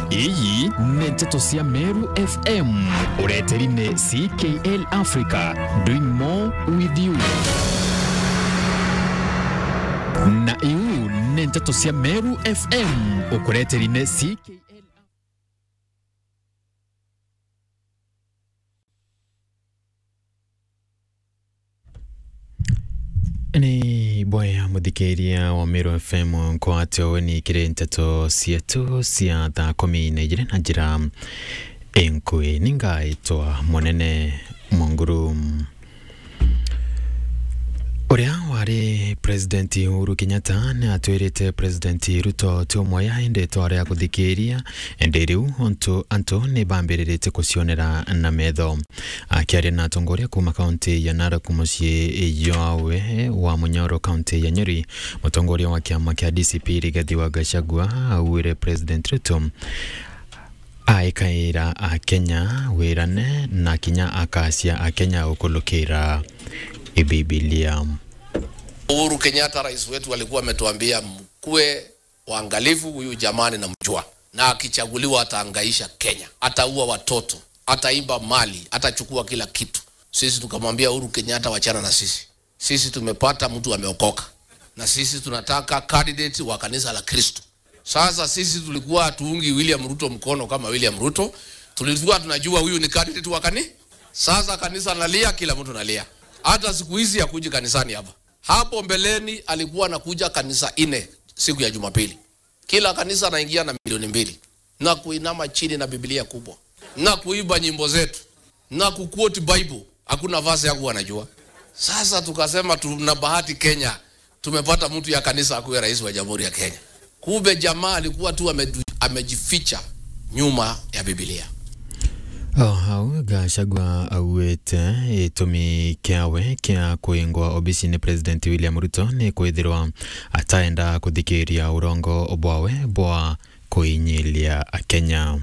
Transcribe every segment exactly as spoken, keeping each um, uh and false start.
Iyi ni nteto cia Meru F M. Ureteri ni C K L Africa, doing more with you. Na iu ni nteto cia Meru F M. Ukureteri ni C K L. Ni boya muthikiria wa Meru F M nkwate weni kiri nteto cietu cia thaa kumi na ijiri na njira inkui. Ningaitwa Munene Munguru. Uria wari President Uhuru Kenyatta ni atwirite President Ruto ti umwe ya indi twari a kuthikiria, indi riu untu antu ni bambiriritie kucionera na metho. Akiaria na atongoria kuuma kaunti ya Narok, mucii jwawe wa Munyoro, kaunti ya Nyeri, mutongoria wa kiama kia D C P Rigathi wa Gachagua augire President Ruto aikaira Akenya wirane na kinya akacia Akenya ukulukira Bibilia. Uhuru Kenyatta, rais wetu, alikuwa ametuambia, "Mkuwe waangalifu, huyu jamaa ninamjua. Na akichaguliwa atahangaisha Kenya. Ataua watoto, ataiba mali, atachukua kila kitu." Sisi tukamwambia Uhuru Kenyatta, "Wachana na sisi. Sisi tumepata mtu ameokoka. Na sisi tunataka candidate wa kanisa la Kristo." Sasa sisi tulikuwa hatuungi William Ruto mkono kama William Ruto. Tulikuwa tunajua huyu ni candidate wa kani-, sasa kanisa nalia, kila mtu nalia. Hata siku hizi hakuji kanisani hapa. Hapo mbeleni alikuwa anakuja kanisa nne siku ya Jumapili. Kila kanisa anaingia na milioni mbili. Na kuinama chini na Biblia kubwa. Na kuimba nyimbo zetu. Na kuquote Bible. Hakuna verse yangu anajua. Sasa tukasema tuna bahati Kenya. Tumepata mtu ya kanisa akuwe rais wa Jamhuri ya Kenya. Kumbe jamaa alikuwa tu amedu-, amejificha nyuma ya Biblia. O hau, Gachagua augite gitumi kiawe kia kuingwa obisi ni President William Ruto ni kwithirwa ataenda kuthikiria urongo bwawe bwa kuinyilia Akenya.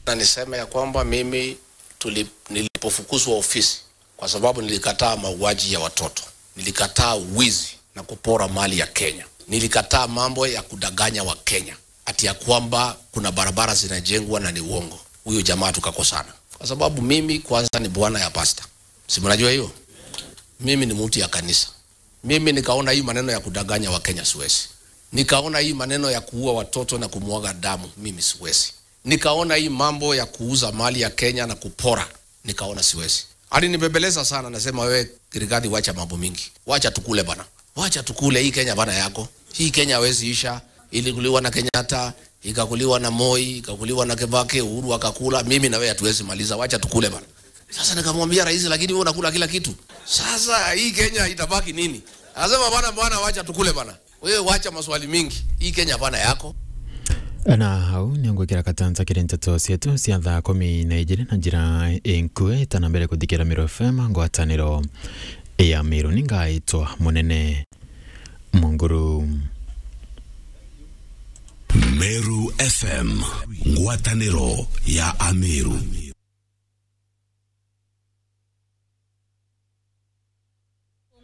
Na niseme ya kwamba mimi tuli-, nilipofukuzwa ofisi, kwa sababu nilikataa mauaji ya watoto, nilikataa uwizi na kupora mali ya Kenya, nilikataa mambo ya kudanganya wa Kenya ati ya kwamba kuna barabara zinajengwa na ni uongo. Huyo jamaa tukakosana. Kwa sababu mimi kwanza ni bwana ya pasta. Si mnajua hiyo? Mimi ni mtu ya kanisa. Mimi nikaona hii maneno ya kudanganya wa Kenya siwezi. Nikaona hii maneno ya kuua watoto na kumwaga damu, mimi siwezi. Nikaona hii mambo ya kuuza mali ya Kenya na kupora, nikaona siwezi. Alinibembeleza sana, nasema, "Wewe Rigathi, wacha mambo mingi. Wacha tukule bana. Wacha tukule, hii Kenya bana yako. Hii Kenya hawezi isha. Ilikuliwa na Kenyatta, ikakuliwa na Moi, ikakuliwa na Kibaki, Uhuru akakula. Mimi na wewe hatuwezi maliza. Wacha tukule bana." Sasa nikamwambia rais, "Lakini wewe unakula kila kitu. Sasa hii Kenya itabaki nini?" Anasema, "Bana, bana, wacha tukule bana. Wewe wacha maswali mingi. Hii Kenya bana yako." Na hau nio ngwikira katanta kiri nteto cietu cia thaa kumi na ijiri na njira inkui, tana mbere kuthikira Meru F M, ngwataniro ya Meru. Ningaitwa Munene Munguru. Meru F M, ngwataniro ya Ameru.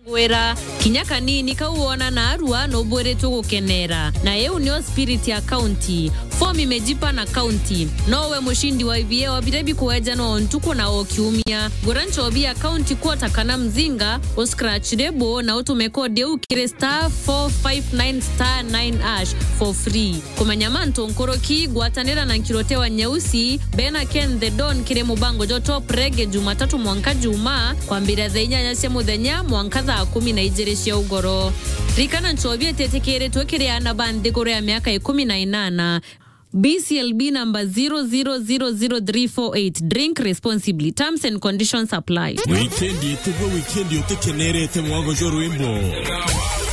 Ngwira, kinya kanini kau wona naarua nubwiritwe gukenera, na iu nio spirit ya county. Form imejipa na county. Nowe mushindi wa ibieo biria bikuejanwa o ntuku na o kiumia. Gura nchobi ya county quarter kana mzinga, u scratch label na utume code iu kiri star four five nine star nine hash for free. Kumenya mantu nkuruki, ngwatanira na Nkirote wa Nyeusi, bena Ken the Don kiri mubango jwa Top Reggae Jumatatu mwanka Juma, kwambira thaa inyanya cia muthenya mwanka thaa kumi na ijiri cia ugoro. Ririkana, nchobi ititikiritwe kiri aana ba nthiguru ya miaka ikumi na inana. B C L B number zero zero zero zero three four eight. Drink responsibly. Terms and conditions apply. Wikendi itugue wikendi utikenerete mwago jwa rwimbo.